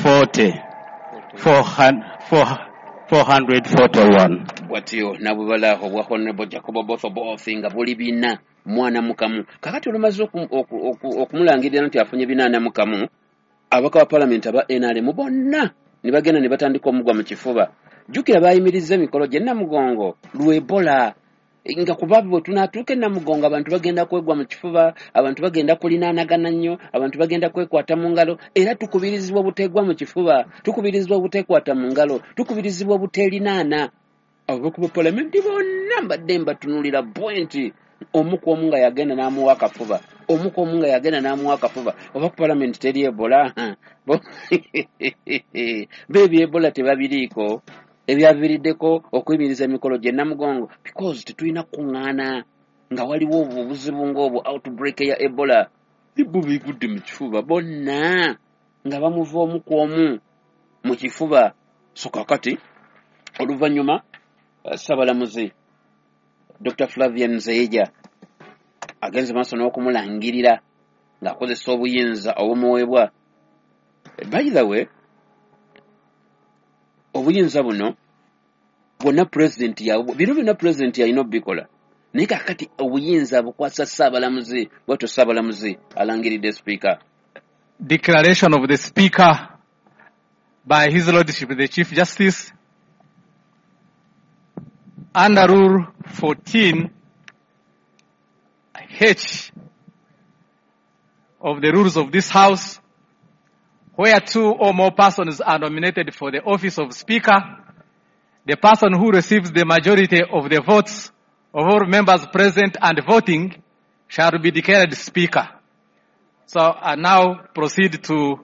440, 441. Bwatyo nabubala obwa Honorable Jacob Oboth Oboth nga buli 401. Kakati olumaze okumulangirira nti afunye 401, ababaka ba palamenti aba NRM bonna ne bagenda ne batandika omugwa mu kifuba. Jjukira baayimiriza emikolo gye Namugongo lwa Ebola, nga kuba bwe tunaatuuka e Namugongo abantu bagenda kwegwa mu kifuba, abantu bagenda kulinaanagana nnyo, abantu bagenda kwekwata mu ngalo. Era tukubirizibwa obuteegwa mu kifuba, tukubirizibwa obuteekwata mu ngalo, tukubirizibwa obuteerinaana. Ababaka ba palamenti bonna mbadde mbatunuulira bwe nti omu ku omu nga yagenda n'amuwa akafuba, omu ku omu nga yagenda n'amuwa akafuba. Oba ku palamenti teri Ebola? Bo ebya Ebola tebabiriiko, ebyaviiriddeko okuyimiriza emikolo gye Namugongo, because tetulina kuŋŋaana nga waliwo obuzibu ng'obwo, outbreak ya Ebola. Bo beegudde mu kifuba bonna nga bamuva omu ku omu mu kifuba. So kakati oluvannyuma Ssaabalamuzi Dr. Flavian Nzeija agenze maaso n'okumulangirira ng'akozesa obuyinza obumuweebwa. By the way, obuyinza buno bwonna pulezidenti bino byonna pulezidenti yalina obikola, naye kakati obuyinza bukwasa Ssaabalamuzi. Bwatyo Ssaabalamuzi alangiridde sipiika. Declaration of the Speaker by His Lordship the Chief Justice under Rule 14 H of the rules of this House, where two or more persons are nominated for the office of Speaker, the person who receives the majority of the votes of all members present and voting shall be declared Speaker. So I now proceed to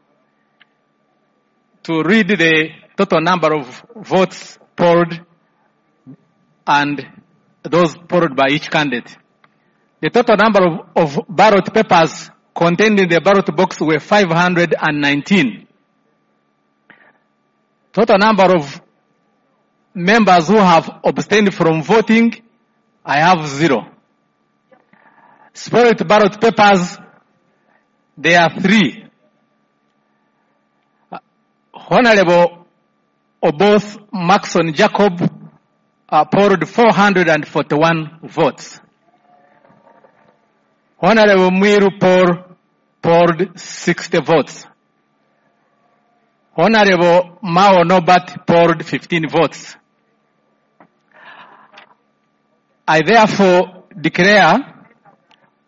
read the total number of votes polled and those polled by each candidate. The total number of ballot papers contained in the ballot box were 519. Total number of members who have abstained from voting, I have 0. Spoiled ballot papers, there are 3. Honorable Oboth Maxon Jacob polled 441 votes. Honorable Mwiru Paul polled 60 votes. Honorable Mao Norbert polled 15 votes. I therefore declare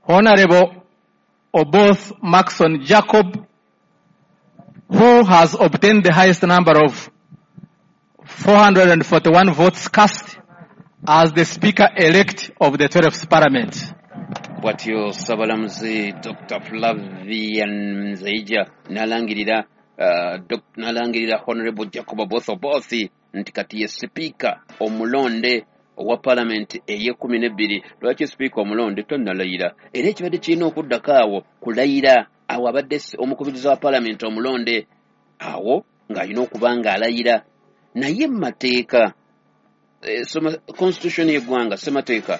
Honorable Oboth Maxon Jacob, who has obtained the highest number of 441 votes cast, as the Speaker-elect of the 12th Parliament. Bwatyo Ssaabalamuzi Dr. Flavian Nzeija n'alangirira Honorable Jacob Oboth Oboth nti kati ye sipiika omulonde owa palamenti ey'ekumi n'ebbiri. Lwaki sipiika omulonde tannalayira? Era ekibadde kirina okuddako awo kulayira. Awo abadde omukubiriza wa palamenti omulonde awo ng'alina okuba ng'alayira. Naye mu mateeka, constitution y'eggwanga, ssemateeka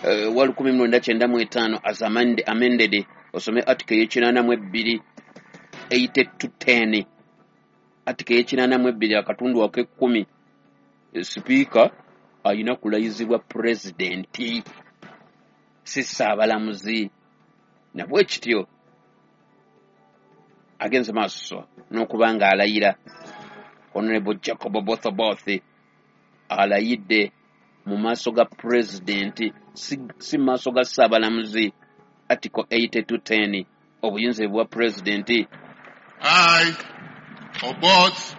wa 1995 as amended, osome article y'82 8 to 10, article y'82 akatundu ak'ekkumi, sipiika alina kulayizibwa pulezidenti, si ssaabalamuzi. Nabwe kityo agenze maaso n'okuba ng'alayira. Honorable Jacob Oboth Oboth alayidde mu maaso ga pulezidenti, si mu maaso ga ssaabalamuzi. Article 8 to 10, obuyinza bwa pulezidenti. I, Oboth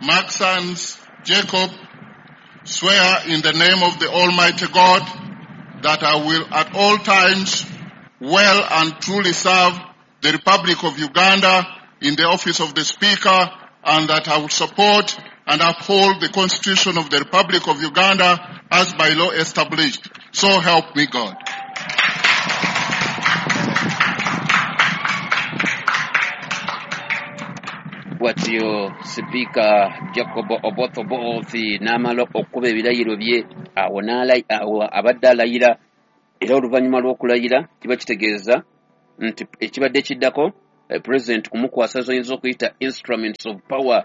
Maxons Jacob, swear in the name of the Almighty God that I will at all times well and truly serve the Republic of Uganda in the office of the Speaker, and that I will support and uphold the Constitution of the Republic of Uganda as by law established. So help me God. Bwatyo Sipiika Jacob Oboth Oboth n'amala okukuba ebirayiro bye. Awo awo abadde alayira, era oluvannyuma lw'okulayira kiba kitegeeza nti ekibadde kiddako President kumukwasa zoyinza okuyita instruments of power.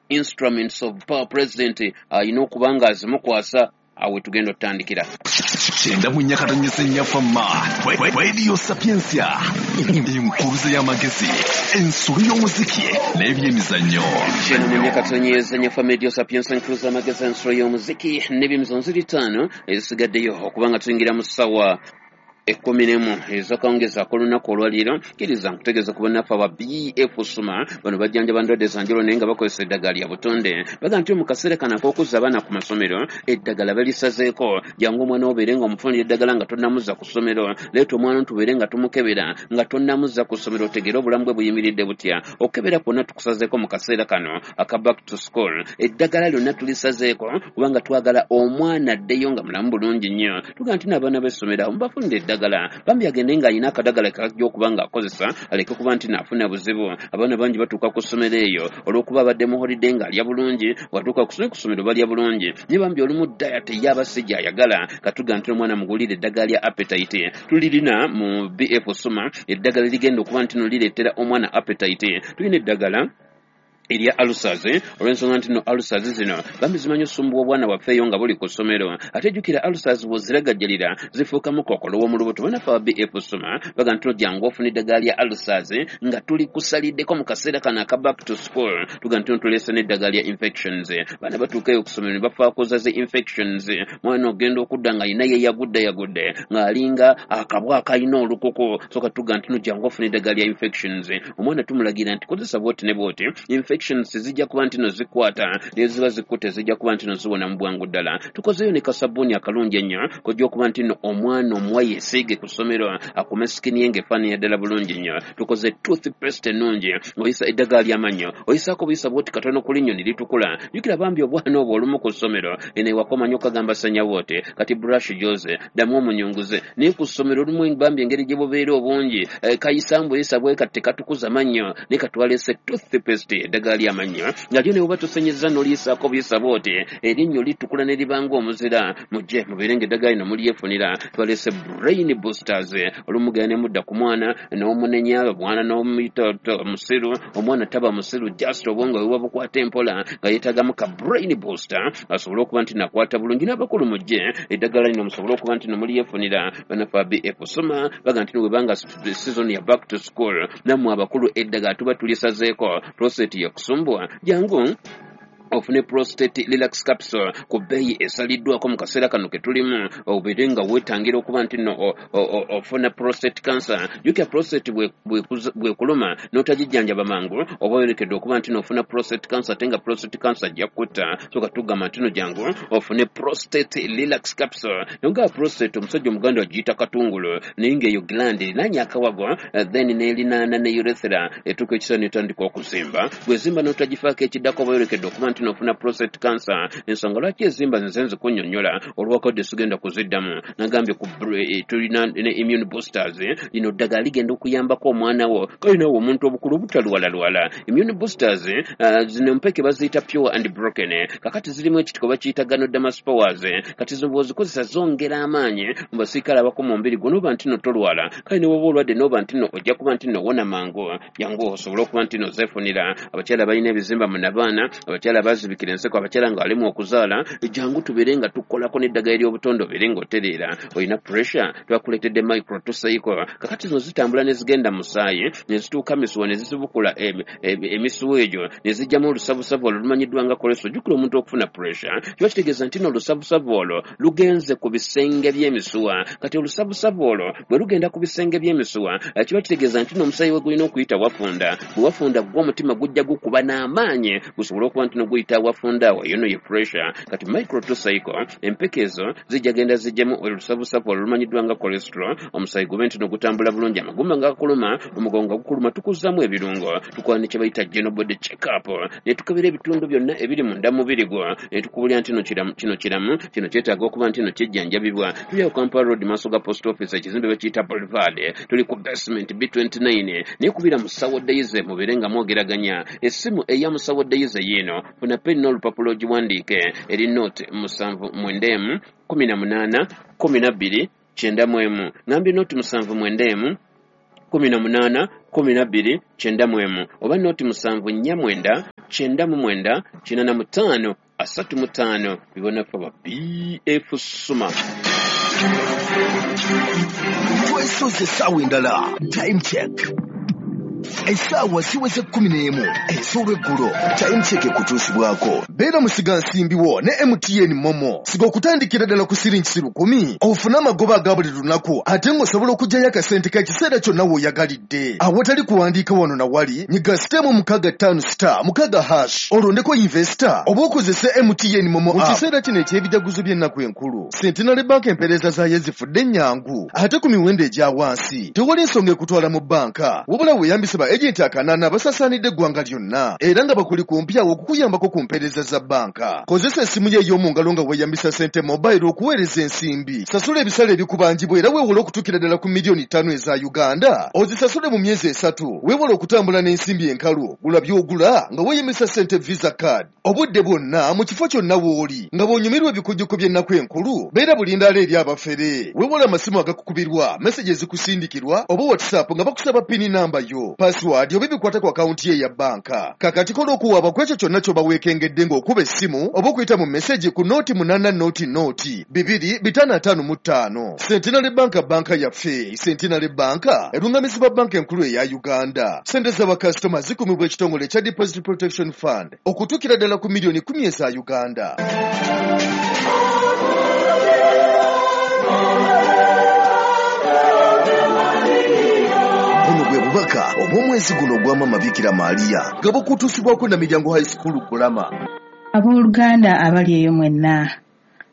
Instruments of power president alina okuba nga azimukwasa. Awe tugenda otandikira. 94.4 Fama Radio Sapientia, enkuruze y'amagezi, ensolo y'omuziki n'ebyemizannyo. 94.4 Fama Radio Sapientia, enkuruze y'amagezi, ensolo y'omuziki n'ebyemizannyo. Ziri 5 ezisigaddeyo okubanga tuyingira mu ssaawa 11 ezakawungezi ak'olunaku olwaleero. Kkiriza nkutegeeza ku bannaffe aba BF Suma. Bano bajjanjaba ndwadde za njawulo naye nga bakozesa eddagala lya butonde. Baga nti mu kaseera kano ak'okuzza abaana ku masomero, eddagala balisazeeko. Jangu omwana obeere nga omufunira eddagala nga tonnamuzza ku ssomero. Leeta omwana tubeere nga tumukebera nga tonnamuzza ku ssomero, otegeere obulamu bwe buyimiridde butya. Okukebera kwonna tukusazeeko mu kaseera kano aka back to school. Eddagala lyonna tulisazeeko kubanga twagala omwana addeyo nga mulamu bulungi nnyo. Tugaa nti n'abaana b'essomero awo mubafunire eddagala, bambi agende ng'alina akadagala kajja okuba ng'akozesa, aleke kuba nti naafuna buzibu. Abaana bangi batuuka ku ssomero eyo olw'okuba abadde mu holiday ng'alya bulungi, watuuka ku ssomero balya bulungi, naye bambi olumu diet ye aba si gy'ayagala. Katuga nti omwana mugulire eddagala lya appetite. Tulirina mu BF Suma eddagala ligenda okuba nti no lireetera omwana appetite. Tulina eddagala erya ulcers, olw'ensonga nti no ulcers zino bambi zimanyi osumbuwa obwana bwaffe eyo nga buli ku ssomero. Ate jjukira ulcers bw'oziragajjalira zifuukamu kookolo w'omu lubuto. Bannaffe aba BF Suma baga nti no jangu ofuna eddagala lya ulcers nga tuli kusaliddeko mu kaseera kano aka back to school. Tuga nti no tuleese n'eddagala lya infections. Baana batuuka eyo ku ssomero ne bafaakoza zi infections. Mwana ogenda okudda nga alina ye yagudde ng'alinga akabwa akalina olukuku. So katuga nti no jangu ofuna eddagala lya infections. Omwana tumulagira nti kozesa bw'oti ne bw'oti, infections zijja kuba nti no zikwata, naye ziba zikutte zijja kuba nti no ziwona mu bwangu ddala. Tukozeyo ne kasabbuuni akalungi ennyo kojja okuba nti no omwana omuwa yeesiige ku ssomero akume sikini ye ng'efaananira ddala bulungi nnyo. Tukoze toothpaste ennungi, oyisa eddagala ly'amannyo, oyisaako buyisa bw'oti katono ku linnyo ne litukula. Jjukira bambi obwana obwo olumu ku ssomero eno ewaka omanyi okagamba senya bw'oti, kati brush gy'oze ddamu omunyunguze. Naye ku ssomero olumu bambi engeri gye bubeera obungi, kayisa mbuyisa bwe kati tekatukuza mannyo, naye katwaleese toothpaste eddagala ly'amannyo nga lyo ne bw'oba tosenyezza n'oliyisaako buyisa bw'oti, erinnyo litukula ne libanga omuzira. Mujje mubeere ng'eddagala lino mulyefunira. Twaleese brain boosters. Olumu genda ne mudda ku mwana n'omunenya, omwana n'omuyita musiru, omwana taba musiru, just obwongo bwe buba bukwata empola nga yeetaagamu ka brain booster asobole okuba nti nakwata bulungi. N'abakulu mujje eddagala lino musobole okuba nti no mulyefunira. Bannaffe aba BF Suma baga nti no bwebanga season ya back to school, nammwe abakulu eddagala tuba tulisazeeko. Prostate yakusumbwa, jangu ofune prostate relax capsule ku bbeeyi esaliddwako mu kaseera kano ke tulimu, obeere nga weetangira okuba nti no ofuna prostate cancer. Jjukira prostate bw'ekuluma n'otagijjanjaba mangu, oba oyolekedde okuba nti no ofuna prostate cancer, ate nga prostate cancer ajja kukutta. So katugamba nti no jangu ofune prostate relax capsule. Nonga prostate omusajja omuganda agiyita katungulu, naye ng'eyo gland erinaanye akawago, then n'erinaana ne urethra, etuuka ekiseera n'etandika okuzimba. Bw'ezimba n'otagifaako ekiddako oba oyolekedde okuba nti nofuna prostate cancer. Ensonga lwaki ezimba nze nzikunnyonnyola olwakadde sigenda kuziddamu. Nagambye ku tulina ne immune boosters. Lino ddagala ligenda okuyambako omwana wo kale naawe omuntu obukulu obutalwalalwala. Immune boosters zino mpeke baziyita pure and broken. Kakati zirimu ekitiko bakiyita ganoderma spores. Kati zo bw'ozikozesa zongera amaanyi mu basirikale abakuma omubiri gwo, n'oba nti no tolwala. Kale ne bw'oba olwadde n'oba nti no ojja kuba nti no wona mangu. Jangu osobole okuba nti no zeefunira. Abakyala balina ebizimba mu nabaana, abakyala bazibikira enseko, abakyala nga alimu okuzaala, jangu tubeere nga tukolako n'eddagala ery'obutonde obeere ng'otereera. Olina pressure, twakuleetedde micro tuseiko. Kakati zino zitambula ne zigenda mu musaayi ne zituuka misuwa ne zizibukula emisuwa egyo ne zijjamu olusavusavu olwo lumanyiddwa nga cholesterol. Jjukira omuntu okufuna pressure kiba kitegeeza nti no olusavusavu olwo lugenze ku bisenge by'emisuwa. Kati olusavusavu olwo bwe lugenda ku bisenge by'emisuwa, kiba kitegeeza nti no omusaayi we gulina okuyita wafunda. Bwe wafunda gwo omutima gujja gukuba n'amaanyi gusobole okuba nti no guyita wafunda awo, eyo no ye pressure. Kati micro tuseiko empeke ezo zijja genda zijjemu olusavusavu olwo lumanyiddwa nga cholesterol, omusaayi gube nti no gutambula bulungi, amagumba nga gakuluma, omugongo nga gukuluma, tukuzaamu ebirungo. Tukola ne kye bayita general body check up, ne tukebera ebitundu byonna ebiri munda mu mubiri gwo, ne tukubulira nti no kino kiramu, kino kyetaaga okuba nti no kijjanjabibwa. Tuli awo Kampala Road maaso ga post office, ekizimbe bakiyita Boulevard, tuli ku basement B29. Naye kubira Musawo Daisy mubeere nga mwogeraganya. Essimu eya Musawo Daisy yiino, funa peni n'olupapula ogiwandiike, eri note 79 18 12 91. Ngambye note 79 18 12 91 oba 0749 99 85 35 bibonaffe ba BF Suma. Twesoze essaawa endala. Time check. Essaawa ziweze 11 ez'olweggulo. Time check ekutuusibwako. Beera musigansimbi wo ne MTN Momo. Siga okutandikira ddala ku siringi 1,000 ofune amagoba aga buli lunaku ate ng'osobola okuggyayo akasente k'ekiseera kyonna w'oyagalidde. Awatali kuwandiika wano na wali, nyiga *656*6# olondeko investor oba okozese MTN Momo app. Mu kiseera kino eky'ebijaguzo by'ennaku enkulu, Centenary Bank empeereza zaayo zifudde ennyangu ate ku miwendo egya wansi. Tewali nsonga ekutwala mu bbanka, wabula weeyambise ba agenti akanaana abasasaanidde eggwanga lyonna era nga bakuli kumpi awo okukuyambako ku mpeereza za bbanka. Kozesa essimu yo ey'omu ngalo nga weeyambisa Sente Mobile okuweereza ensimbi. Sasula ebisale ebikubanjibwa era weewole okutuukira ddala ku miliyoni 5 eza Uganda. Ozisasule mu myezi 3. Weewole okutambula n'ensimbi enkalu. Gula by'ogula nga weeyambisa Sente Visa Card. Obudde bwonna mu kifo kyonna w'oli nga bw'onyumirwa ebikujjuko by'ennaku enkulu, beera bulindaala eri abafere. Weewole amasimu agakukubirwa, meseji ezikusindikirwa oba WhatsApp nga bakusaba pini namba yo, password oba ebikwata ku akawunti ye eya bbanka. Kakati kola okuwaaba ku ekyo kyonna ky'oba weekengedde ng'okuba essimu oba okuyita mu meseji ku 080 0 2 555. Centenary Bank banka yaffe. Centenary Bank erungamizibwa banka enkulu eya Uganda. Sente z'abakasitoma zikuumibwa ekitongole ekya Deposit Protection Fund okutuukira ddala ku miliyoni 10 eza Uganda. Buno bwe bubaka obw'omwezi guno ogwa Maama Bikira Maria nga bukutuusibwako Namiryango High School Kulama. Abooluganda abali eyo mwenna,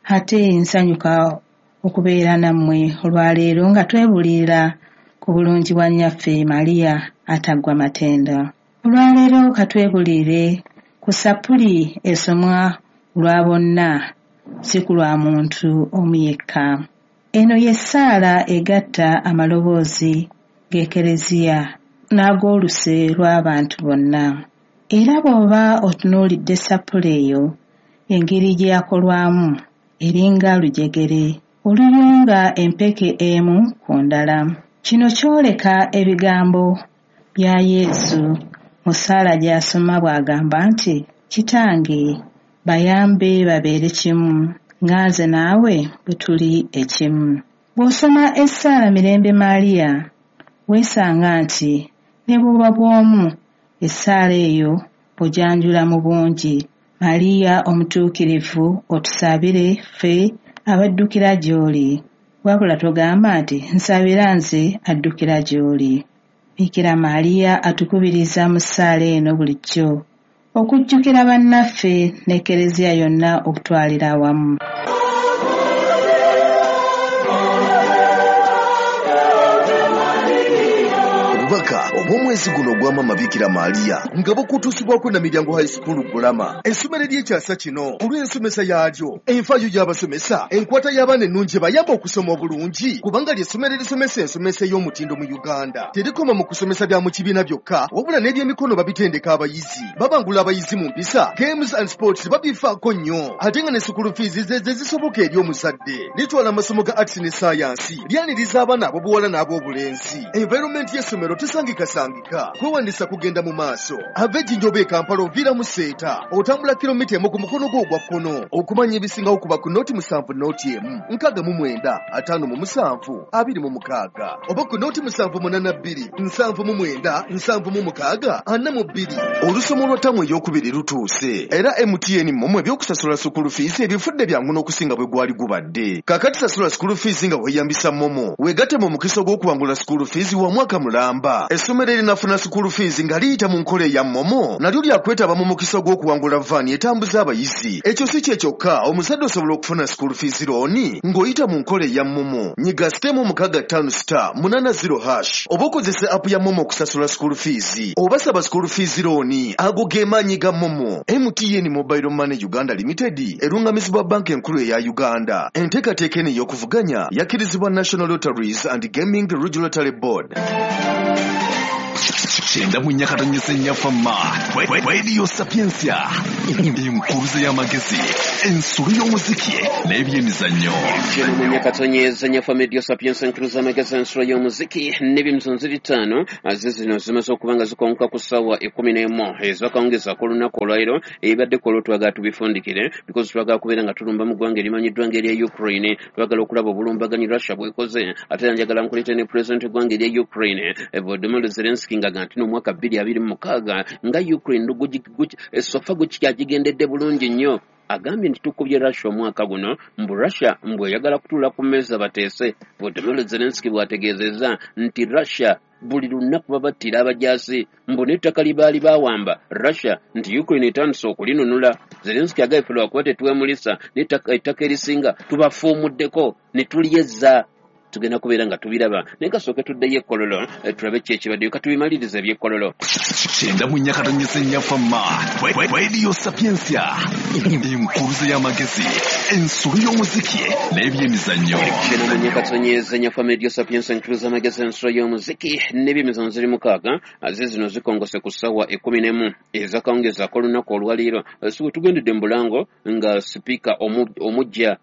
ate nsanyuka okubeera nammwe olwaleero nga twebuulirira ku bulungi bwa nnyaffe Maria ataggwa matendo. Olwaleero katwebuulirire ku sappuli esomwa lwa bonna, si ku lwa muntu omu yekka. Eno y'essaala egatta amaloboozi g'Ekereziya n'ag'oluse lw'abantu bonna. Era bw'oba otunuulidde sappuli eyo, engeri gye yakolwamu eringa lujegere oluyunga empeke emu ku ndala. Kino kyoleka ebigambo bya Yesu mu ssaala gy'asoma bw'agamba nti, Kitange, bayambe babeere kimu, nga nze naawe bwe tuli ekimu. Bw'osoma essaala Mirembe Maria, weesanga nti ne bw'oba bw'omu essaala eyo ogyanjula mu bungi. Maria omutuukirivu otusabire ffe abaddukira gy'oli. Wabula togamba nti nsabira nze addukira gy'oli. Bikira Maria atukubiriza mu ssaala eno bulijjo okujjukira bannaffe n'Ekereziya yonna okutwalira awamu. Obubaka obw'omwezi guno ogwa Maama Bikira Maria nga bukutuusibwako Namiryango High School Kulama. Essomero ery'ekyasa kino olw'ensomesa yaalyo, enfaayo y'abasomesa, enkwata y'abaana ennungi ebayamba okusoma obulungi, kubanga ly'essomero erisomesa ensomesa ey'omutindo mu Uganda. Terikoma mu kusomesa bya mu kibiina byokka, wabula n'ebyemikono babitendeka abayizi. Babangula abayizi mu mpisa, games and sports babifaako nnyo, ate nga ne school fees ze zisoboka eri omuzadde. Litwala amasomo ga arts ne science, lyaniriza abaana ab'obuwala n'ab'obulenzi. Environment y'essomero tesangikasangika. Kwewandisa kugenda mu maaso. Ava Ejjinja oba e Kampala oviira mu Seeta, otambula kilomita 1 ku mukono gwo ogwa kkono. Okumanya ebisingawo kuba ku 07 01 69 57 26 oba ku 0782 79 76 42. Olusomo lwa ttamu ey'okubiri lutuuse era MTN Momo ebyokusasula school fees ebifudde byangu n'okusinga bwe gwali gubadde. Kaakati sasula school fees nga weeyambisa Momo, weegatte mu mukisa ogw'okuwangula school fees wa mwaka mulamba. Essomero erinafuna school fees nga liyita mu nkola eya Momo nalyo lyakwetaba mu mukisa ogw'okuwangula vaani etambuza abayizi. Ekyo si kye kyokka, omuzadde osobola okufuna school fees looni ng'oyita mu nkola eya Momo. Nyiga *656*80# oba okozese app ya Momo okusasula school fees oba saba school fees looni. Ago ge maanyi ga Momo. MTN Mobile Money Uganda Limited erungamizibwa banka enkulu eya Uganda. Enteekateeka eno ey'okuvuganya yakkirizibwa National Lotteries and Gaming Regulatory Board. 94.4 Fama Radio Sapientia, enkuruze y'amagezi, ensolo y'omuziki n'ebyemizannyo. 94.4 Fama Radio Sapientia, enkuruze y'amagezi, ensolo y'omuziki n'ebyemizannyo. Ziri ttaano zizino zimaze okuba nga zikonka ku ssaawa 11 ezakawungeza ku lunaku olwaleero. Ebibadde ku olwo twagala tubifundikire because twagala kubeera nga tulumba mu ggwanga erimanyiddwa ng'erya Ukraine. Twagala okulaba obulumbaganyi Russia bwekoze, ate era njagala nkuleete ne pulezidenti w'eggwanga erya Ukraine, Volodymyr Zelensky, nga nti n'omwaka 2026 nga Ukraine so far gukyagigendedde bulungi nnyo. Agambye nti tukubye Russia omwaka guno, mbu Russia mbu eyagala kutuula ku mmeeza bateese. Volodymyr Zelensky bw'ategeezezza nti Russia buli lunaku babattira abajaasi, mbu n'ettaka lye baali bawamba Russia nti Ukraine etandise okulinunula. Zelensky agambye ffe lwakuba tetwemulisa, n'ettaka erisinga tubafuumuddeko ne tulyezza. Tugenda kubeera nga tubiraba, naye kasooke tuddeyo ekkololo, tulabe ki ekibaddeyo. Katubimalirize ebyekkololo. 94.4 Fama Radio Sapientia, enkuruze y'amagezi, ensolo y'omuziki n'ebyemizannyo. 94.4 Fama Radio Sapientia, enkuruze y'amagezi, ensolo y'omuziki n'ebyemizannyo. Ziri 6 ze zino zikongose ku ssaawa 11 ezakawungezi ak'olunaku olwaleero. Si bwe tugendedde mu bulango nga sipiika omujja,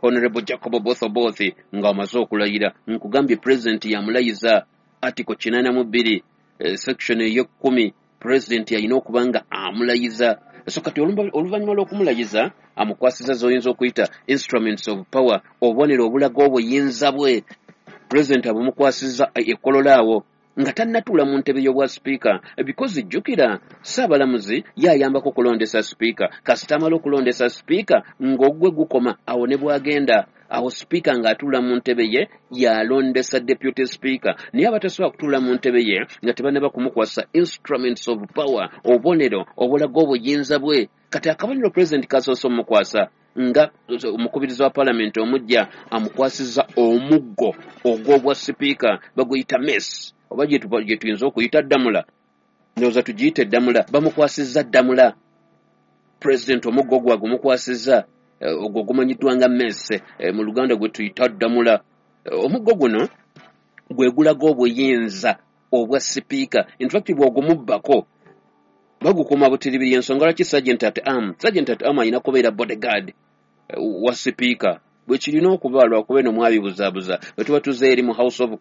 Honorable Jacob Oboth Oboth, nga amaze okulayira. Nkugambye president yamulayiza. Article 82, section ey'ekkumi, president alina okuba nga amulayiza. So kati oluvannyuma lw'okumulayiza amukwasiza z'oyinza okuyita instruments of power, obubonero obulaga obuyinza bwe. President abumukwasiza ekolola awo nga tannatuula mu ntebe y'obwa sipiika, because jjukira Ssaabalamuzi ye ayambako okulondesa sipiika. Kasita amala okulondesa sipiika ng'ogwe gukoma awo ne bw'agenda awo sipiika ng'atuula mu ntebe ye yalondesa deputy speaker. Naye abatasobola kutuula mu ntebe ye nga tebannaba kumukwasa instruments of power, obubonero obulaga obuyinza bwe. Kati akabonero president kasoose omukwasa nga omukubiriza wa palamenti omujja, amukwasiza omuggo ogw'obwa sipiika, baguyita mace, oba gye tuyinza okuyita ddamula. Ndowooza tugiyite ddamula. Bamukwasizza ddamula. President omuggo ogwo agumukwasizza, ogwo gumanyiddwa nga mace, mu Luganda gwe tuyita ddamula. Omuggo guno gwe gulaga obuyinza obwa sipiika. In fact, bw'ogumubbako bagukuuma butiribiri. Ensonga lwaki sergeant at arm alina kubeera bodyguard wa sipiika bwe kirina okuba, lwakuba eno mwabibuzaabuza bwe tuba tuze eri mu House of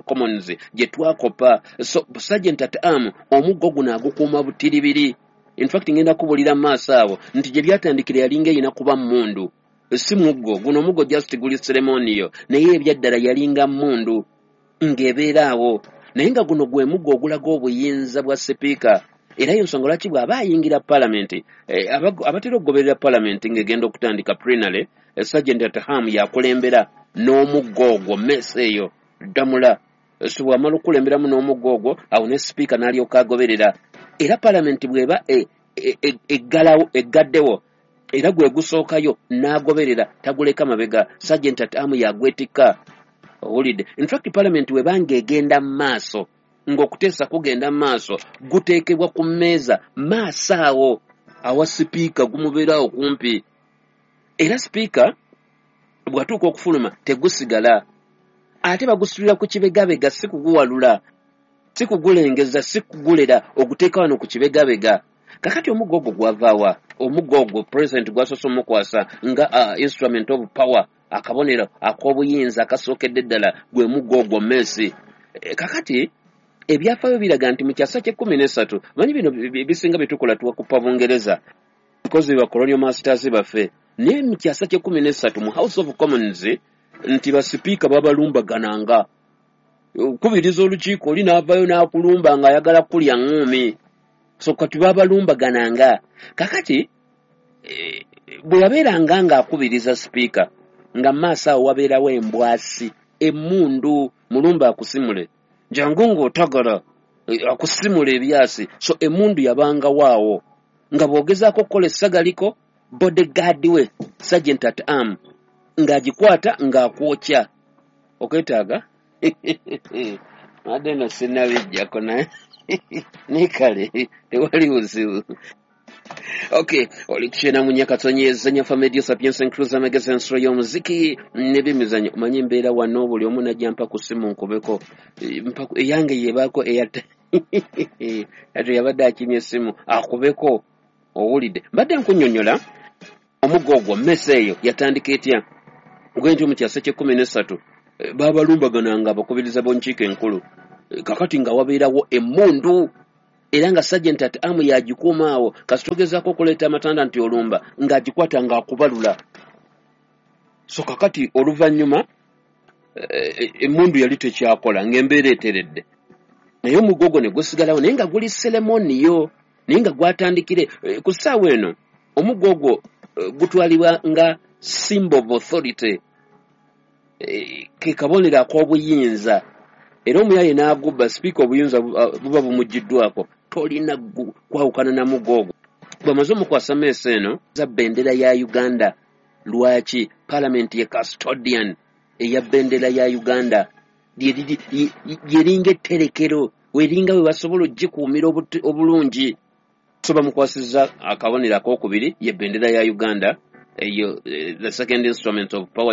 Commons gye twakopa. So sergeant at arm omuggo guno agukuuma butiribiri. In fact, ngenda kubulira mu maaso awo nti gye byatandikira yalinga erina kuba mmundu, si muggo guno. Omuggo just guli ceremonial, naye ebyaddala yalinga mmundu ng'ebeera awo, naye nga guno gwe muggo ogulaga obuyinza bwa sipiika. Era ensonga lwaki bw'aba ayingira palamenti, abatera okugoberera palamenti ng'egenda okutandika plenary, sergeant at arm yakulembera n'omuggo ogwo, mace eyo ddamula. So bw'amala okukulemberamu n'omuggo ogwo awo ne sipiika n'alyoka agoberera. Era palamenti bw'eba eggalawo, eggaddewo, era gwe gusookayo n'agoberera, taguleka mabega. Sergeant at arm yagwetikka, owulidde? In fact, palamenti webanga egenda mu maaso ng'okuteesa kugenda mu maaso, guteekebwa ku mmeeza maaso awo awa sipiika, gumubeerawo kumpi. Era sipiika bw'atuuka okufuluma tegusigala, ate bagusitulira ku kibegabega, si kuguwalula, si kugulengeza, si kugulera, oguteeka wano ku kibegabega. Kakati omuggo ogwo gwavaawa? Omuggo ogwo president gwasoose omukwasa nga instrument of power, akabonero ak'obuyinza akasookedde ddala gwe muggo ogwo, mace. Kakati ebyafaayo biraga nti mu kyasa ky'e13, manyi bino bisinga byetukola tuwakupa Bungereza because ba colonial masters baffe, naye mu kyasa ky'e13 mu House of Commons nti basipiika babalumbagananga. Okubiriza olukiiko oli n'avaayo n'akulumba ng'ayagala kulya ŋŋuumi. So kati babalumbagananga. Kakati bwe yabeeranga ng'akubiriza sipiika, nga maaso awo wabeerawo embwasi, emmundu, mulumba akusimule, jangu ng'otagala, akusimula ebyasi. So emmundu yabangawo awo nga bw'ogezaako okukola essagaliko, bodyguard we sergeant at arm ng'agikwata ng'akwokya. Okwetaaga adde no sinnabijjako, naye naye kale tewali buzibu. Okay, oli 94.4 Fama Radio Sapientia, Cruiser amagezi, ensolo y'omuziki n'ebyemizannyo. Omanyi embeera wano, buli omu najja mpa ku ssimu nkubeko. Eyange yebaako eya Ate yabadde akimye essimu akubeko. Owulidde, mbadde nkunnyonnyola omuggo ogwo, mmese eyo yatandika etya? Ogende nti mu kyasa ky'e 13 baabalumbagananga abakubiriza b'enkiiko enkulu. Kakati nga wabeerawo emmundu, era nga sergeant at arm yagikuuma awo. Kasita ogezaako okuleeta amatanda nti olumba, ng'agikwata ng'akubalula. So kakati oluvannyuma emmundu yali tekyakola, ng'embeera eteredde, naye omuggo ogwo ne gusigalawo, naye nga guli ceremonial, naye nga gwatandikire ku ssaawa eno. Omuggo ogwo gutwalibwa nga symbol of authority, ke kabonero ak'obuyinza, era omuyaye n'agubba sipiika, obuyinza buba bumugiddwako. Tolina kwawukana na muggo ogwo. Bw'amaze omukwasa mace eno za bendera ya Uganda, lwaki palamenti ye custodian eya bendera ya Uganda? Lyeringa etterekero, weringa we basobola ogikuumira obulungi. So bamukwasizza akabonero akokubiri, ye bendera ya Uganda eyo, the second instrument of power.